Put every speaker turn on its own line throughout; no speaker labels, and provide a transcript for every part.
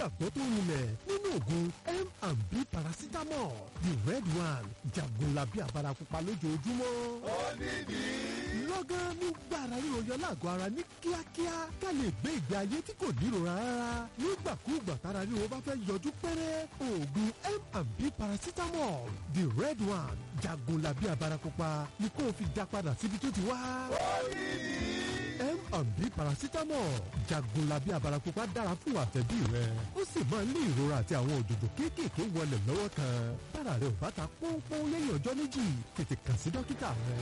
Nígbàgbọ́ tó rinlẹ̀ nínú oògùn M&B paracetamol, the red one, jagunlabi abarapupa lójoojúmọ́.
Ó nídìí.
Lọ́gán nígbà ara ríro yọ lágọ̀ọ́ ara ní kíákíá, ká lè gbé ìgbé ayé tí kò nírora rárá. Nígbàkúùgbà tára ríro bá fẹ́ yọjú pẹ́rẹ́, oògùn M&B paracetamol, the red one, jagunlabi abarapupa ni kó o fi dá padà síbi tó ti wá.
Ó nídìí.
M&B paracetamol, jagunlabi abarapupa, dára fún àtẹ̀bí rẹ. Ó sì máa ń lé ìrora àti àwọn òjòjò kéékèèké wọlé lọ́wọ́ kan. Bára rẹ ò bá ta pọ́npọ́n lẹ́yìn ọjọ́ 2, tètè kàn sí dókítà rẹ.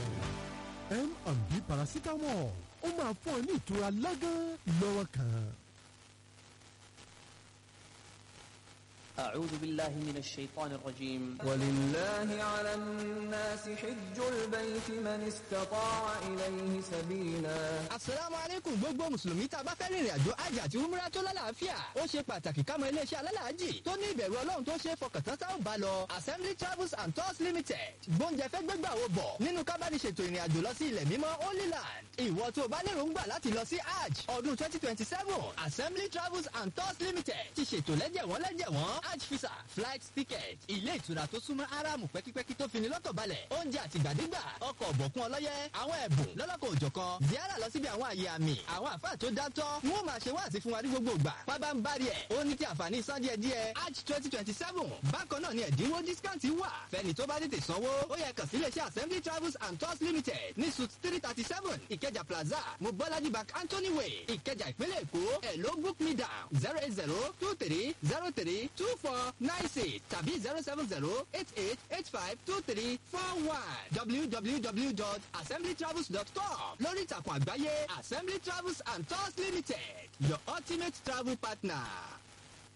M&B paracetamol, ó máa fún ọ ní ìtura lọ́gán lọ́wọ́ kan.
أعوذ بالله من الشيطان الرجيم.
ولله على الناس حج البيت من استطاع إليه سبيلا.
Asalaamu aleykum, gbogbo mùsùlùmí. Tá a bá fẹ́ rìnrìn àjò hajj àti umrah tó lálàáfíà, ó ṣe pàtàkì ká mọ iléeṣẹ́ alálàájì tó ní ìbẹ̀rù Ọlọ́run tó ṣe é fọkàn tán tá ò bá lọ. Assembly Travels and Tours Limited gbóúnjẹ fẹ́ gbégbà wo bọ̀ nínú kábàdìṣètò ìrìn àjò lọ sí ilẹ̀ mímọ́, Holy Land. Ìwọ tó o bá lérò ń gbà láti lọ sí hajj ọdún 2027, Assembly Travels and Tours Limited ti ṣètò lẹ́jẹ̀wọ́n lẹ́jẹ̀wọ́n: hajj visa, flight ticket, ilé ìtura tó súnmọ́ Aráàmù pẹ́kípẹ́kí tó fini lọ́kàn balẹ̀, oúnjẹ àtìgbàdégbà, ọkọ̀ ọ̀bọ̀kún ọlọ́yẹ, àwọn ẹ̀bùn lọ́lọ́kọ̀ òjọ̀kan, ziara lọ síbi àwọn àyè àmì. Àwọn àfáà tó dátọ́ wọn ó máa ṣe wáàsí fún wa ní gbogbo ìgbà. Pábá ń bari ẹ̀, ó ní ti àǹfààní san díẹ̀ díẹ̀ hajj 2027. Bákan náà ni ẹ̀dínwó discount wà fẹ́ni tó bá tètè sanwó. Ó yẹ kàn sí iléeṣẹ́ Assembly Travels and Tours Limited ní Suite 337, Ìkẹjà Plaza, Mobolaji Bank Anthony Way, Ìkẹjà, ìpínlẹ̀ Èkó. Ẹ̀ ló book me down 08023032496 tàbí 07088852341. www.assemblytravels.com lórí ìtàkùn àgbáyé. Assembly Travels and Tours Limited, your ultimate travel partner.